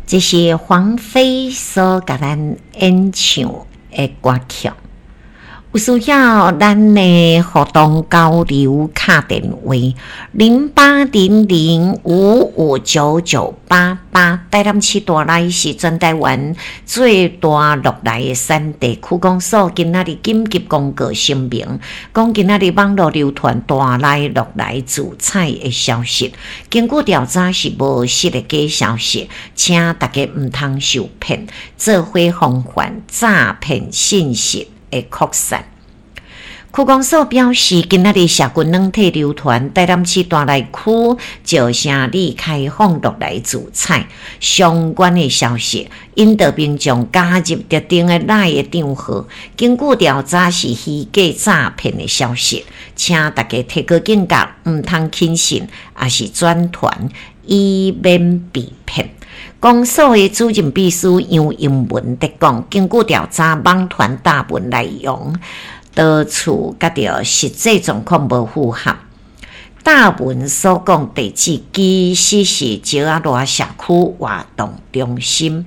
這是黃妃所共咱演唱的歌曲。有需要咱的互動交流，敲電話0800559988。台南市大內是全台灣最大鹿來的產地，區公所今仔日緊急公告聲明，講今仔日網路流傳大內鹿來自採的消息，根據調查是無實的假消息，請大家毋通受騙，做伙防範詐騙信息的擴散。區公所表示，今仔日社群軟體流傳台南市大內區石城里開放鹿來自採相關的消息，引導民眾加入特定的 LINE 的帳號。根據調查是虛假詐騙的消息，請大家提高警覺，毋通輕信，抑是轉傳，以免被騙。公所的主任秘書楊英文佇講，根據調查網傳貼文內容，多處佮著實際狀況無符合。貼文所講地址其實是石仔羅社區活動中心，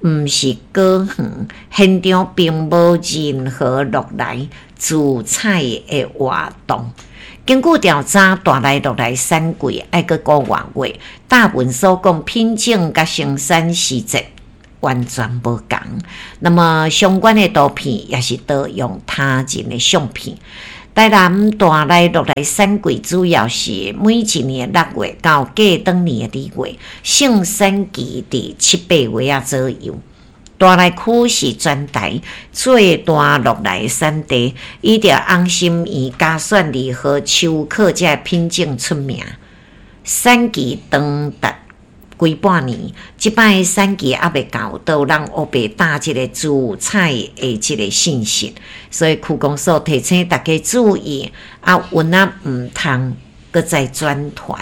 毋是果園，現場並無任何鹿來自採的活動。根據調查，大內鹿來產季愛閣五外月，貼文所講品種佮生產時節完全無仝。那麼相關的圖片也是盜用他人的相片。台南大內鹿來產季主要是每一年6月到過轉年的2月，盛產期佇七八月仔左右。大內區是全台最大鹿來產地，以著紅心圓、嘉選二號、秋可這品種出名。產期長達規半年，這擺產期猶未到，都有人烏白貼這个自採的這个信息，所以區公所提醒大家注意，啊，有仔毋通閣再轉傳。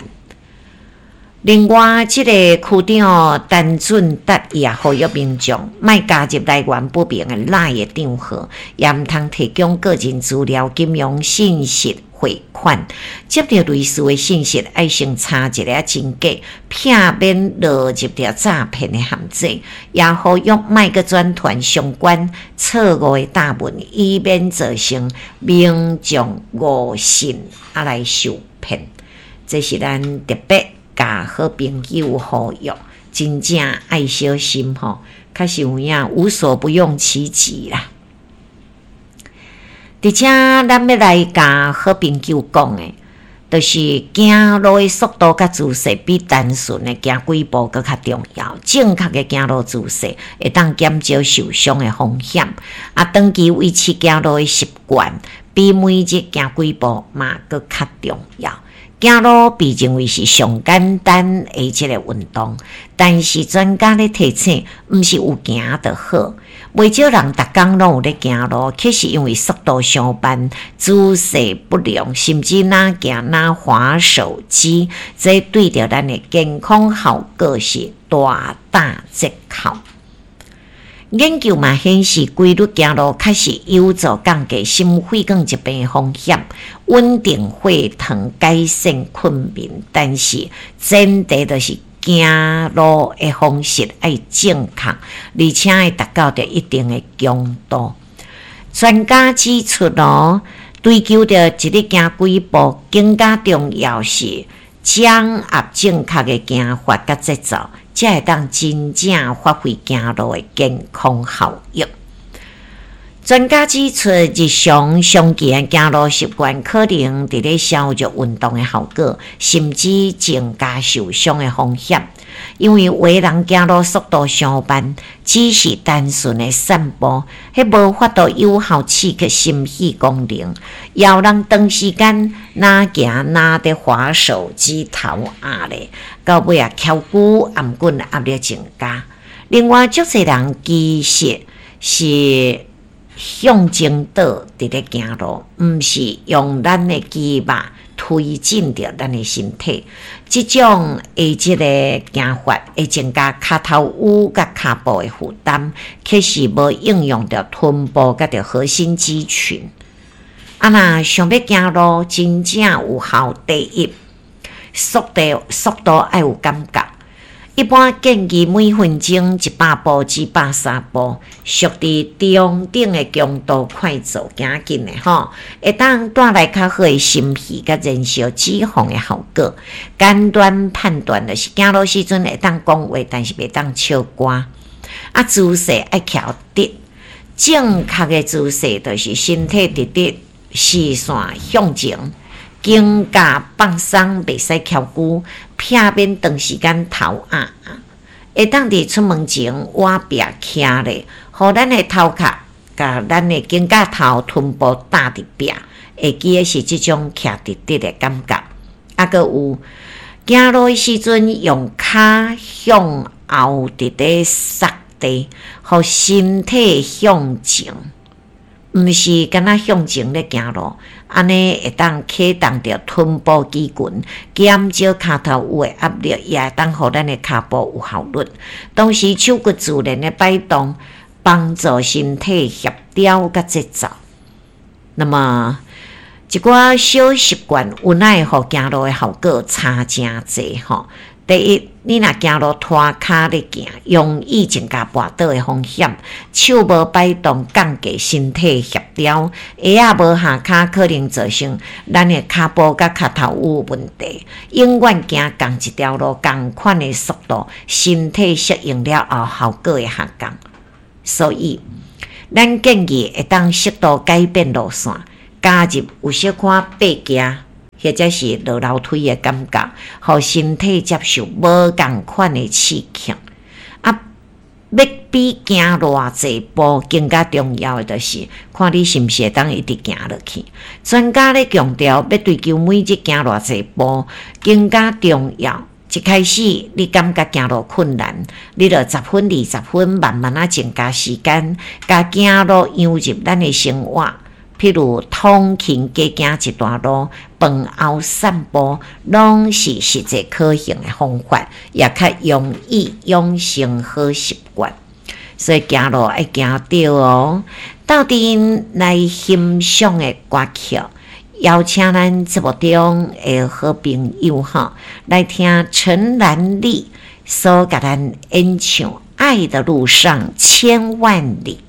另外，這个區長陳俊達伊也呼籲民眾，莫加入來源不明的 LINE 的帳號，也毋通提供個人資料、金融信息、匯款。接著類似的信息，愛先查一下真假，避免落入著詐騙的陷阱。也呼籲莫閣轉傳相關錯誤的貼文，以免造成民眾誤信啊來受騙。這是咱特別共好朋友呼籲，真正愛小心吼，確實有影無所不用其極啦。佇遮，咱欲來共好朋友講的，就是行路的速度佮姿勢比單純的行幾步閣較重要。正確的行路姿勢會當減少受傷的風險。啊，長期維持行路的習慣，比每日行幾步嘛閣較重要。行路被認為是上簡單的這个運動，但是專家咧提醒，毋是有行就好。袂少人逐工攏有咧行路，卻是因為速度傷慢、姿勢不良，甚至若行若滑手機，這對著咱的健康效果是大打折扣。研究嘛顯示，規律行路確實有助降低心血管疾病風險、穩定血糖、改善困眠。但是前提就是行路的方式愛正確，而且會達到著一定的強度。專家指出哦，追求著一日行幾步，更加重要是掌握正確的行法佮節奏，才會當真正發揮行路的健康效益。專家指出，日常常見的行路習慣可能佇咧削弱運動的效果，甚至增加受傷的風險。因為有的人行路速度傷慢，只是單純的散步，彼無法度有效刺激心肺功能。也有人長時間若行若佇滑手機頭壓咧，到尾啊蹺骨頷頸壓力增加。另外，足濟人其實是向前倒佇咧行路，毋是用咱的肌肉推進著咱的身體。這種的這个行法會增加跤頭趺佮跤步的負擔，卻是無應用著臀部佮著核心肌群。啊，若想欲行路真正有效，第一，速度愛有感覺。一般建議每分鐘100步至130步，屬佇中等的強度快走行緊的吼，會當帶來較好的心肺佮燃燒脂肪的效果。簡單判斷就是行路時陣會當講話，但是袂當唱歌。啊，姿勢愛徛直，正確的姿勢就是身體直直，視線向前，肩胛放鬆，袂使翹龜，避免長時間頭壓。會當佇出門前倚壁徛咧，予咱的頭殼佮咱的肩胛頭、臀部搭佇壁，會記得是這種徛直直的感覺。啊，閣有行路的時陣，用跤向後直咧捒地，予身體向前，毋是干焦向前咧行路，按呢會當啟動著臀部肌群，減少跤頭趺的壓力，也會當予咱的跤步有效率。同時手骨自然的擺動，幫助身體協調佮節奏。那麼一寡小習慣，有奈會予行路的效果差誠濟吼。第一，你若行路拖跤咧行，容易增加跋倒的風險。手無擺動，降低身體協調；鞋仔無合跤，可能造成咱的跤步佮跤頭趺有問題。永遠行仝一條路，仝款的速度，身體適應了後，效果會下降。所以，咱建議會當適度改變路線，加入有小可爬行，或者是落樓梯的感覺，予身體接受無仝款的刺激。啊，欲比行偌濟步更加重要的，就是看你是毋是會當一直行落去。專家咧強調，欲追求每日行偌濟步更加重要。一開始你感覺行路困難，你就十分、20分慢慢仔增加時間，共行路融入咱的生活。譬如通勤加行一段路，飯後散步，攏是實際可行的方法，也較容易養成好習慣。所以行路愛行對哦。鬥陣來欣賞的歌曲，邀請咱節目中的好朋友吼，來聽陳蘭麗所共咱演唱《愛的路上千萬里》。